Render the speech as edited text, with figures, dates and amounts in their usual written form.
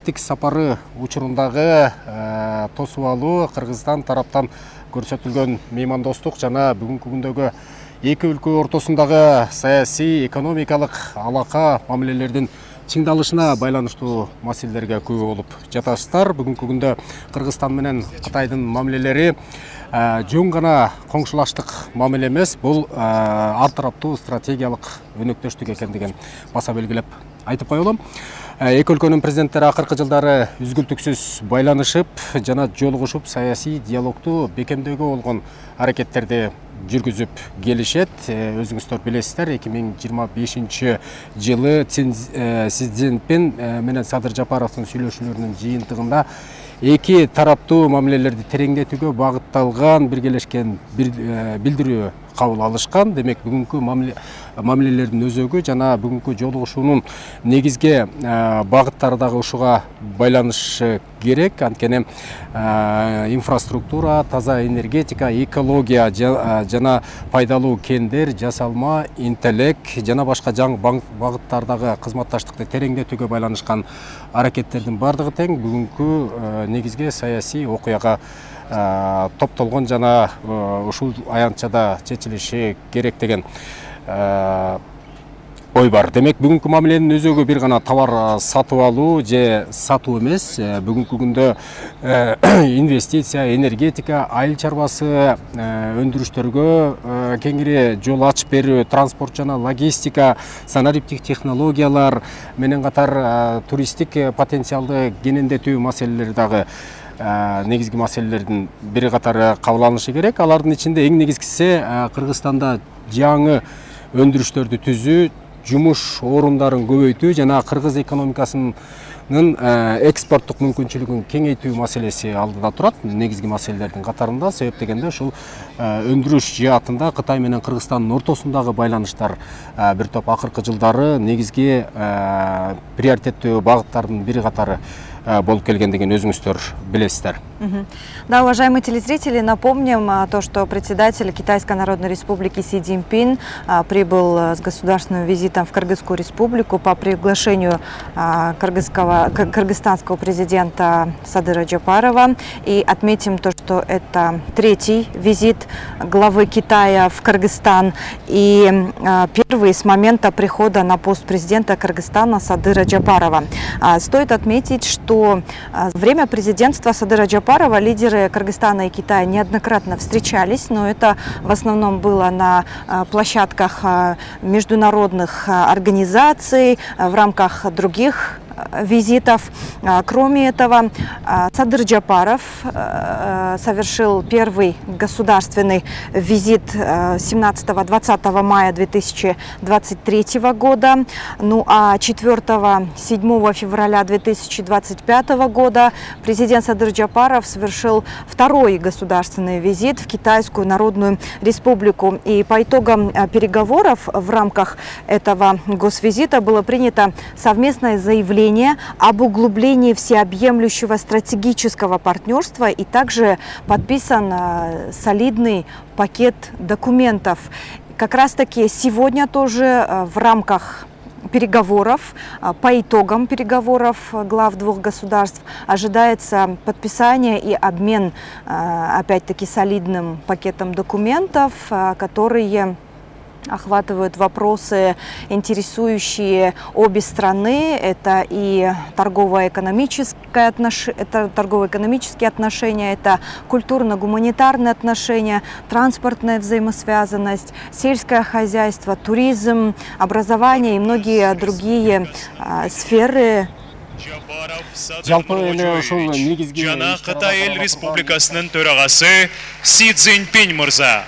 мамлекеттик сапары учурундагы тосуп алуу Кыргызстан тараптан көрсөтүлгөн меймандостук жана бүгүнкү күндөгү эки өлкө ортосундагы саясий, экономикалык алака мамилелердин чыңдалышына байланыштуу маселелерге күбө болуп жатасыздар. Бүгүнкү күндө Кыргызстан менен Кытайдын мамилелери жөн гана коңшулаштык мамиле эмес, бул ар тараптуу стратегиялык өнөктөштүк экендигин баса белгилеп айтып коелу. Эки өлкөнүн президенттери акыркы жылдары үзгүлтүксүз байланышып жана жолугушуп саясий диалогду бекемдөөгө болгон аракеттерди жүргүзүп келишет. Өзүңүздөр билесиздер, 2025 жылы Си Цзиньпин менен Садыр Жапаровдун сүйлөшүүлөрүнүн жыйынтыгында эки тараптуу мамилелерди тереңдетүүгө багытталган биргелешкен билдирүү кабыл алышкан. Демек, бүгүнкү мамилелердин өзөгү жана бүгүнкү жолугушуунун негизги багыттары дагы ушуга байланышы керек. Анткени инфраструктура, таза энергетика, экология жана пайдалуу кендер, жасалма, интеллект жана башка жаңы багыттардагы кызматташтыкты тереңдетүүгө байланышкан аракеттердин бардыгы тең бүгүнкү негизги саясий окуяга топтолгон жана ушул аянтчада чечилиши керек деген ой бар. Демек, бүгүнкү мамиленин өзөгү бир гана товар сатып алуу же сатуу эмес. Бүгүнкү күндө инвестиция, энергетика, айыл чарбасы өндүрүштөргө кеңири жол ачып берүү, транспорт жана логистика, санариптик технологиялар менен катар туристтик потенциалды кенендетүү маселелери дагы негизги маселелердин бири катары кабыл алынышы керек. Алардын ичинде эң негизгиси Кыргызстанда жаңы өндүрүштөрдү түзүү, жумуш орундарын көбөйтүү жана кыргыз экономикасынын экспорттук мүмкүнчүлүгүн кеңейтүү маселеси алдыда турат. Негизги маселелердин катарында, себеп дегенде ушул өндүрүш жаатында Кытай менен Кыргызстандын ортосундагы байланыштар бир топ акыркы жылдары негизги приоритеттүү багыттардын бири катары болуп келгендигин өзүңүздөр билесиздер. Да, уважаемые телезрители, напомним то, что председатель Китайской Народной Республики Си Цзиньпин прибыл с государственным визитом в Кыргызскую республику по приглашению кыргызстанского президента Садыра Жапарова. И отметим то, что это третий визит главы Китая в Кыргызстан и первый с момента прихода на пост президента Кыргызстана Садыра Жапарова. Стоит отметить, что во время президентства Садыра Жапарова лидеры Кыргызстана и Китая неоднократно встречались, но это в основном было на площадках международных организаций, в рамках других визитов. Кроме этого, Садыр Жапаров совершил первый государственный визит 17-20 мая 2023 года. Ну а 4-7 февраля 2025 года президент Садыр Жапаров совершил второй государственный визит в Китайскую Народную Республику. И по итогам переговоров в рамках этого госвизита было принято совместное заявление об углублении всеобъемлющего стратегического партнерства и также подписан солидный пакет документов. Как раз таки сегодня тоже в рамках переговоров, по итогам переговоров глав двух государств ожидается подписание и обмен опять-таки солидным пакетом документов, которые охватывают вопросы, интересующие обе страны. Это и торгово-экономические отношения, это культурно-гуманитарные отношения, транспортная взаимосвязанность, сельское хозяйство, туризм, образование и многие другие сферы. Жана Кытай Эл Республикасынын төрагасы Си Цзиньпин мырза.